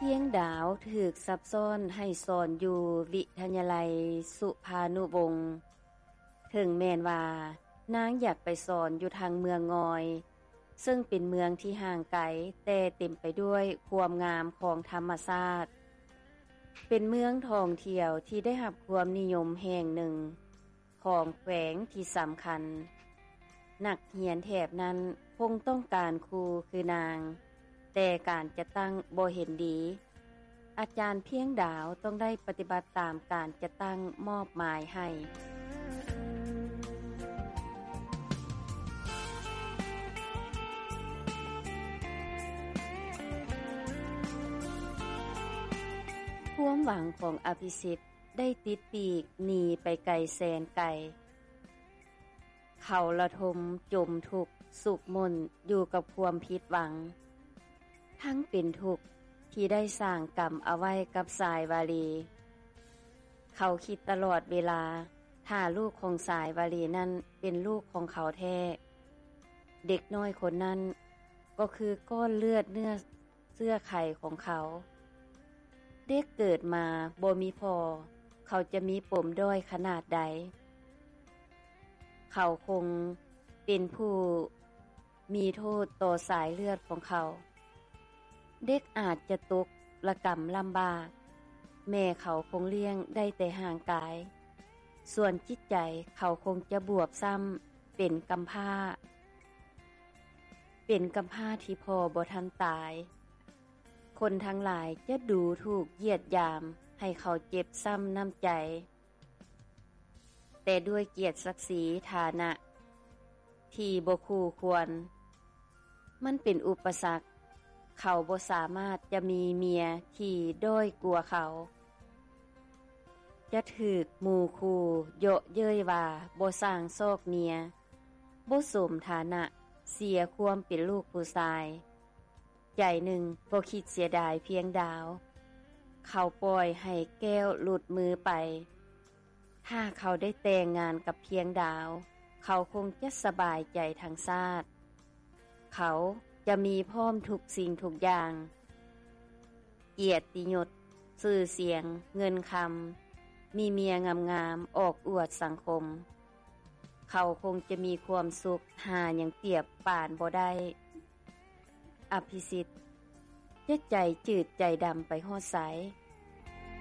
ພຽງດາວຖືກຊັບຊ້ອນໃຫ້ສອນຢູ່ວິທະຍາໄລສຸພານຸວົງ ເຖິງແມ່ນວ່ານາງຢາກໄປສອນຢູ່ທາງເມືອງງອຍ ເຊິ່ງເປັນເມືອງທີ່ຫ່າງໄກ ແຕ່ເຕັມໄປດ້ວຍຄວາມງາມຂອງທຳມະຊາດ, ເປັນເມືອງທ່ອງທ່ຽວທີ່ໄດ້ຮັບຄວາມນິຍົມແຫ່ງໜຶ່ງຂອງແຂວງທີ່ສຳຄັນ. ນັກຮຽນແຖບນັ້ນຄົງຕ້ອງການຄູຄືນາງ, ແຕ່ການຈັດຕັ້ງບໍ່ເຫັນດີ. ອາຈານພຽງດາວຕ້ອງໄດ້ປະຕິບັດຕາມການຈັດຕັ້ງມອບໝາຍໃຫ້. ຄວາມຫວັງຂອງອະພິສິດໄດ້ຕິດປີກໜີໄປໄກແສນໄກ. ເຂົາລະທົມຈົມທຸກສຸກໝົ່ນຢູ່ກັບຄວາມຜິດຫວັງ, ທັງເປັນທຸກທີ່ໄດ້ສ້າງກຳເອົາໄວ້ກັບສາຍວາລີ. ເຂົາຄິດຕະຫຼອດເວລາ ຖ້າລູກຂອງສາຍວາລີນັ້ນເປັນລູກຂອງເຂົາແທ້, ເດັກນ້ອຍຄົນນັ້ນກໍຄືກ້ອນເລືອດເນື້ອ ເຊື້ອໄຂຂອງເຂົາ. ເດັກເກີດມາບໍ່ມີພໍ່, ເຂົາຈະມີປົມດ້ອຍຂະໜາດໃດ? ເຂົາຄົງເປັນຜູ້ມີໂທດຕໍ່ສາຍເລືອດຂອງເຂົາ. ເດັກອາດຈະຕົກລະກຳລຳບາກ, ແມ່ເຂົາຄົງລ້ຽງໄດ້ແຕ່ຮ່າງກາຍ, ສ່ວນຈິດໃຈເຂົາຄົງຈະບວບຊ້ຳເປັນກຳພ້າ. ເປັນກຳພ້າທີ່ພໍ່ບໍ່ທັນຕາຍ. ຄົນທັງຫຼາຍຈະດູຖູກຢຽດຢາມໃຫ້ເຂົາເຈັບຊ້ຳນ້ຳໃຈ, ແຕ່ດ້ວຍກຽດສັກສີຖານະທີ່ບໍ່ຄູ່ຄວນ, ມັນເປັນອຸປະສັກ. ເຂົາບໍ່ສາມາດຈະມີເມຍທີ່ດ້ອຍກວ່າເຂົາ. ຈະຖືກໝູ່ຄູ່ເຍາະເຍີ້ຍວ່າບໍ່ຊ່າງຊອກເມຍ, ບໍ່ສົມຖານະ, ເສຍຄວາມເປັນລູກຜູ້ຊາຍ. ໃຈໜຶ່ງກໍຄິດເສຍດາຍພຽງດາວ. ເຂົາປ່ອຍໃຫ້ແກ້ວຫຼຸດມືໄປ. ຖ້າເຂົາໄດ້ແຕ່ງງານກັບພຽງດາວ, ເຂົາຄົງຈະສະບາຍໃຈທັງຊາດ. ເຂົາຈະມີພ້ອມທຸກສິ່ງທຸກຢ່າງ, ກຽດຕິຍົດ, ຊື່ສຽງ, ເງິນຄຳ, ມີເມຍງາມໆອອກອວດສັງຄົມ. ເຂົາຄົງຈະມີຄວາມສຸກຫາຫຍັງປຽບປານບໍ່ໄດ້. ອະພິສິດ ຈະໃຈຈືດໃຈດຳໄປຮອດໃສ?